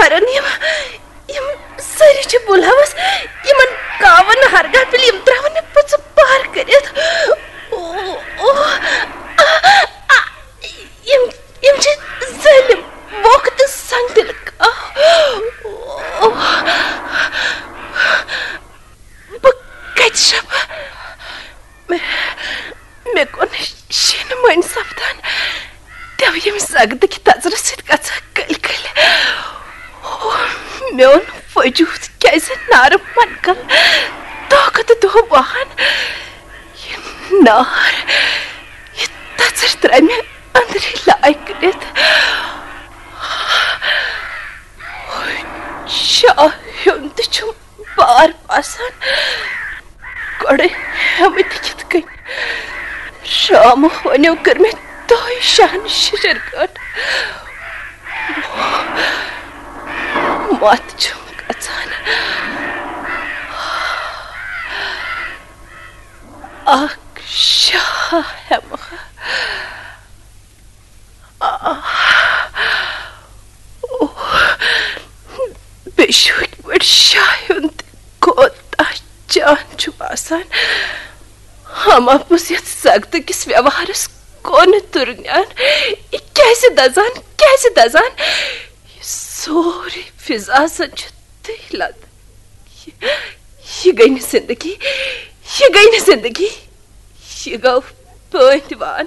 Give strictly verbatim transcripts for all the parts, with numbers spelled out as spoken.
کران یِم، یِم سٲری چھِ بُلہٕ ہاوس، یِمن کاوَن ہرگاہ پِلہِ یِم ترٛاوَن مےٚ پٕژٕ پار کٔرِتھ۔ او، او، آ، آ، یِم، یِم چھِ ظٲلِم، ووکھٕ تہٕ سنگ دِل کاو۔ او، بہٕ کتہِ شپہٕ؟ مےٚ، مےٚ کُن شیٖنہٕ مٔنٛزۍ سپدان تِم یِم زگدٕکۍ تژرٕ سۭتۍ گژھان کٔلۍ کٔلۍ۔ او، میون وجود کیازِ نارٕ منکل دۄہ کھۄتہٕ دۄہ وہان؟ یہِ نار، یہِ تژر ترٛایہِ مےٚ أنٛدرٕے لایہِ کٔرِتھ۔ شاہ ہیوٚن تہِ چھُم بار باسان۔ گۄڈٕ ہٮ۪مہٕ تہِ کِتھ کٔنۍ؟ شامہٕ ہونیو کٔر مےٚ دۄہے شاہن شِشر گٲنٛٹھ۔ مَتھ چھُم گژھان۔ اکھ شاہ ہٮ۪مہٕ۔ آہ۔ اوہ۔ بیٚیہِ چھُ یِتھ پٲٹھۍ شاہ ہیوٚن تہِ کوتاہ جان چھُ باسان۔ ہم اپُز یتھ زگتہٕ کِس ویوہارس کونہٕ تُرنیان۔ یہِ کیازِ دزان، کیازِ دزان؟ یہِ سورُے فضا زن چھُ تٔتھۍ لد۔ یہِ، یہِ گٔے نہٕ زندگی، یہِ گٔے نہٕ زندگی۔ یہِ گوٚو پٲنٛتۍ وان۔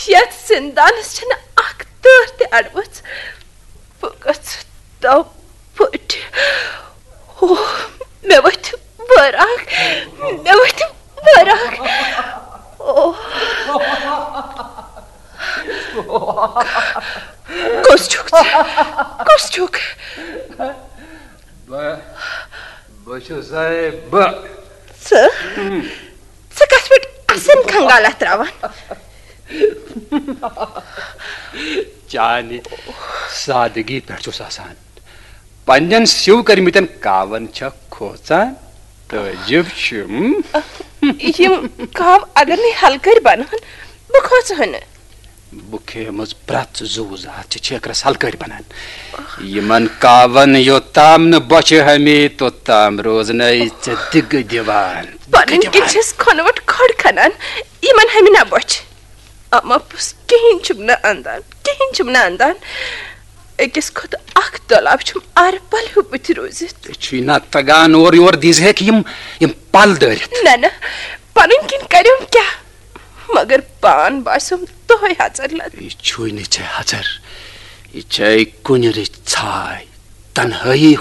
یتھ زندانس چھنہٕ اکھ تۭر تہِ اڑوٕژ۔ بہٕ گژھٕ تو پٲٹھۍ۔ او، مےٚ ؤتھۍ وٲراکھ، مےٚ ؤتھۍ وٲراکھ۔ او۔ کُس چھُکھ ژٕ؟ کُس چھُکھ؟ بہٕ، بہٕ چھُسے بہٕ۔ ژٕ؟ ژٕ کتھ پٮ۪ٹھ اسن کھنگالہ تراوان؟ چانہِ سادگی پٮ۪ٹھ چھُس آسان۔ پننٮ۪ن سیو کٔرمٕتٮ۪ن کاون چھا کھوژان؟ تعجب چھُم۔ یِم کاو اگر نے ہلکٲرۍ بنہٕ ہن، بہٕ کھوژٕ ہا نہٕ۔ بہٕ کھیمٕژ پرٛٮ۪تھ زُو زاتھ چھِ چھیکرس ہلکٲرۍ بنان۔ یِمن کاون یوٚتام نہٕ بۄچھِ ہمی، توٚتام روزنَے ژےٚ دِگہٕ دِوان۔ پنٕنۍ کِنۍ چھَس کھۄنہٕ وَٹ کھۄڈ کھنان، یِمن ہمہِ نہ بۄچھِ۔ اما پوٚز کِہیٖنۍ چھُم نہٕ اندان، کِہیٖنۍ چھُم نہٕ اندان۔ أکِس کھۄتہٕ اکھ دۄلاب چھُم آرٕ پل ہیوٗ بٕتھِ روٗزِتھ۔ ژےٚ چھُے نہ تگان اورٕ یور دِژ ہیکھ یِم، یِم پل دٲرِتھ۔ نہ، نہ، پنٕنۍ کِنۍ کریوم کیٛاہ؟ مگر پان باسیوم دۄہے ہژر لد۔ یہِ چھُے نہٕ ژےٚ ہژر، یہِ چھے کُنہِ رٕژ ژھاے، تنہٲیی